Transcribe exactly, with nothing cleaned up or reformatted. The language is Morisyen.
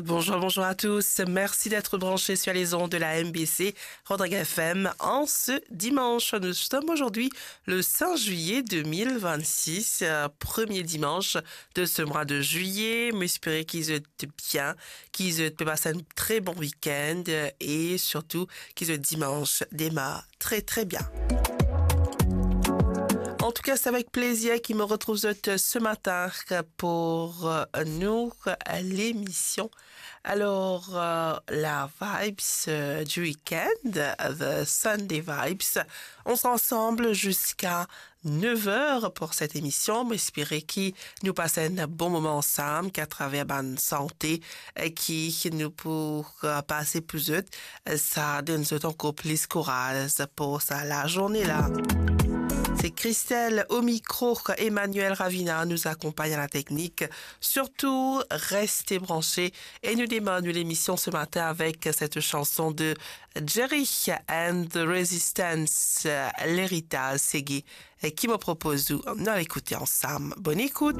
Bonjour, bonjour à tous. Merci d'être branchés sur les ondes de la M B C Rodrigues F M en ce dimanche. Nous sommes aujourd'hui le cinq juillet deux mille vingt-six, euh, premier dimanche de ce mois de juillet. Mo espere ki zot bien, ki zot pe pas un très bon week-end, euh, et surtout ki zot dimanche démarre très, très bien. En tout cas, c'est avec plaisir ki mo retrouve zot ce matin pour, euh, nou, euh, l'émission. Alors, euh, la vibes, euh, du week-end, euh, the Sunday vibes. On sera ensemble jusqu'à neuf heures pour cette émission. Mo espere ki nou pas un bon moment ensemble, ki atraver bann sante, euh, ki nou pou, euh, pas pou zot, euh, sa donn zot ankor plis kouraz pour sa lazourne la. C'est Christelle au micro, Emmanuel Ravina nous accompagne à la technique. Surtout, restez branchés et nou demarre l'émission ce matin avec cette chanson de Jerry and the Resistance, euh, L'Héritage, se ki mo propoz ou, nou al ekoute ansam. Bonne écoute.